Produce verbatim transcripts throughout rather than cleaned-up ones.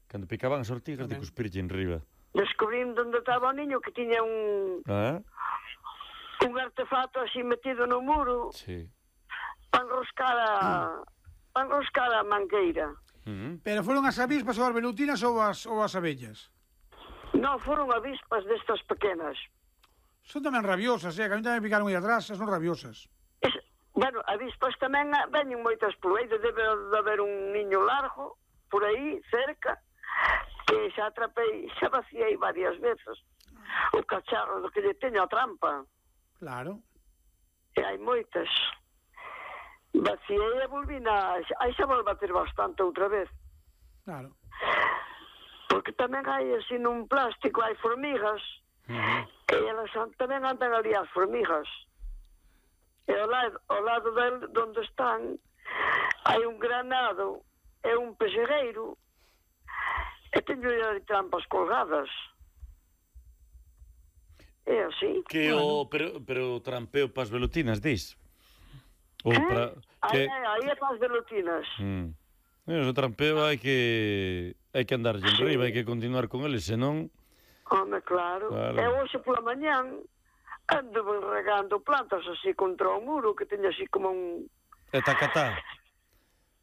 Cando picaban as ortigas de cuspirlle en riba. Descubrín onde estaba o niño que tiña un... Ah? un artefacto así metido no muro. Sí. Para enroscar a... para enroscar a mangueira. Uh-huh. Pero foron as avispas ou as velutinas ou as, ou as abellas? Non, foron avispas destas pequenas. Son tamén rabiosas, eh? Que a mí tamén picaron aí atrás, son rabiosas. Es, bueno, avispas tamén veñen moitas por aí, debe de haber un niño largo por aí, cerca, que xa atrapei, xa vaciei varias veces o cacharro do que lle teño a trampa. Claro. E hai moitas. Vaciei e volvina, aí xa volve a ter bastante outra vez. Claro. Porque tamén hai así nun plástico, hai formigas, uh-huh. E elas tamén andan ali as formigas. E ao lado, ao lado del, donde están, hai un granado e un pexegueiro, e teño ali trampas colgadas. É así. Que bueno. o, pero, pero trampeo pas velutinas, dis? Ou eh? para... Que... Aí, aí é pas velutinas. Mm. O trampeo hai que hai que andar en riba, hai que continuar con ele, senón... Home, claro. claro. E hoxe pola mañán ando regando plantas así contra o muro, que teño así como un... E tacatá.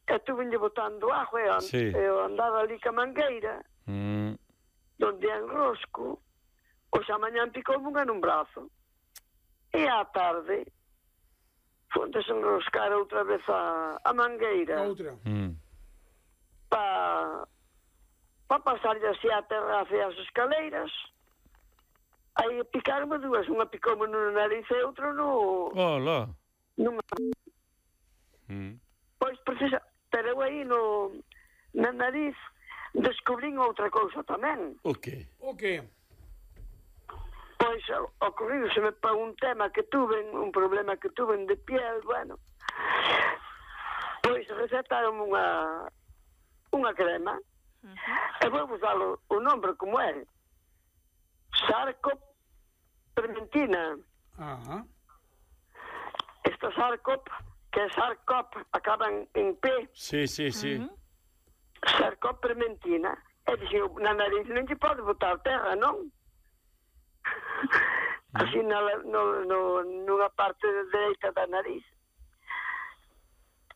E tu venlle botando agua e, and... sí. e andaba ali ca mangueira, mm. donde enrosco, hoxe a mañán picou unha nun brazo. E á tarde foi desenroscar outra vez a, a mangueira. Outra. Mm. Pa, pa pasarlle así a terraza e as escaleiras. Aí picaronme dúas, unha picoume no nariz e outra no... Hola. Nunha... Mm. Pois precisa... Pero eu aí no... na nariz descubrín outra cousa tamén. O que? O que? Pois ocorríuseme para un tema que tuve, un problema que tuve de piel, bueno. Pois recetaron unha... unha crema, uh-huh. E vou usar o, o nombre como é. Sarcop Permentina. Ajá. Esta Sarcop, que é Sarcop, acaban en P. Sí, sí, sí. Uh-huh. Sarcop Permentina. E dixen, na nariz non lle pode botar terra, non? Uh-huh. Así na, no, no, nunha parte dereita da nariz.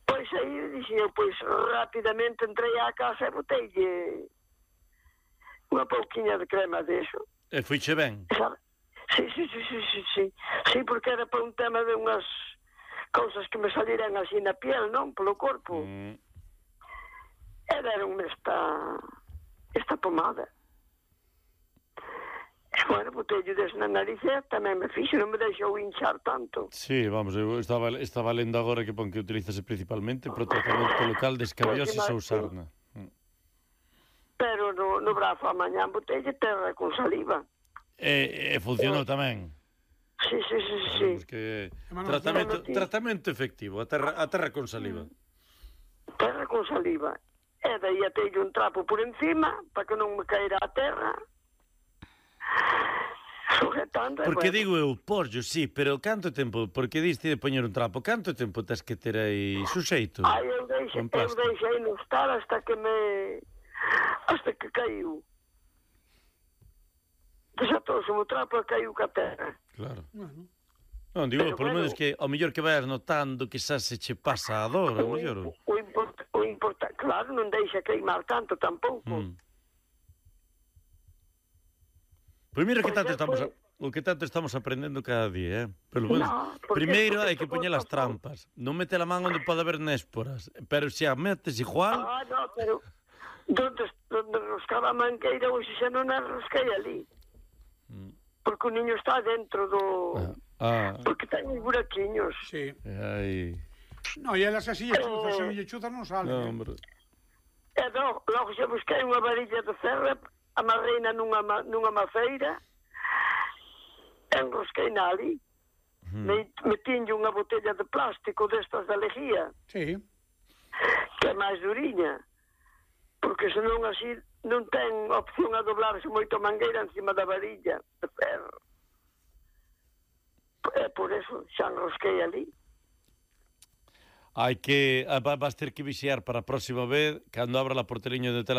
Pois aí, dixen, pois rapidamente entrei á casa e boteille unha pouquiña de crema deso. E fuiche ben? Sí, sí, sí, sí, sí, sí. Sí, porque era para un tema de unhas cousas que me saliran así na piel, non? Polo corpo. Mm. E deronme esta, esta pomada. E, bueno, botello des na nariz e tamén me fixo, non me deixou hinchar tanto. Sí, vamos, eu estaba, estaba lendo agora que pon que utilízase principalmente para o tratamento local de escabiosis ou sarna. Pero no, no brazo a mañán botelle terra con saliva. E, e funcionou tamén. Sí, sí, sí, sí. Que tratamento, tratamento efectivo, a terra, a terra con saliva. Terra con saliva. E daí atelle un trapo por encima para que non me caera a terra. Sujetando. Porque bueno. digo eu, porllo, sí, pero canto tempo, porque diste de poñer un trapo, canto tempo tens que ter aí suxeito? Ai, eu deixei, eu deixei no estar hasta que me... hasta que caiu. Desatouse o trapo e caiu ca terra. Claro. Bueno. Non, digo, pero, polo menos bueno, que ao mellor que vais notando que xa se che pasa a dor, ao mellor. O, o, import, o importante, claro, non deixa queimar tanto tampouco. Mm. Pois mira que tanto estamos, a, o que tanto estamos aprendendo cada día, eh? Pero bueno, no, primeiro hai que poñer as trampas, non mete a man onde pode haber nésporas, pero se a metes igual... Ah, no, pero donde, donde roscaba a mangueira, hoxe xa non a rosquei ali. Mm. Porque o niño está dentro do... Ah, ah. Porque ten uns buraquiños. Sí. Ai... No, e elas así, chuzas, se lle chuzas non salen. No, hombre. E no, logo xa busquei unha varilla de ferro, amarreina nunha, nunha maceira, enrosquei na ali, hmm. me, metinlle unha botella de plástico destas de lejía, sí. Que é máis duriña, porque senón así non ten opción a doblarse moito a mangueira encima da varilla de ferro. É por eso xa enrosquei ali. Hai que, vas ter que vixiar para a próxima vez, cando abra a porteriño de tela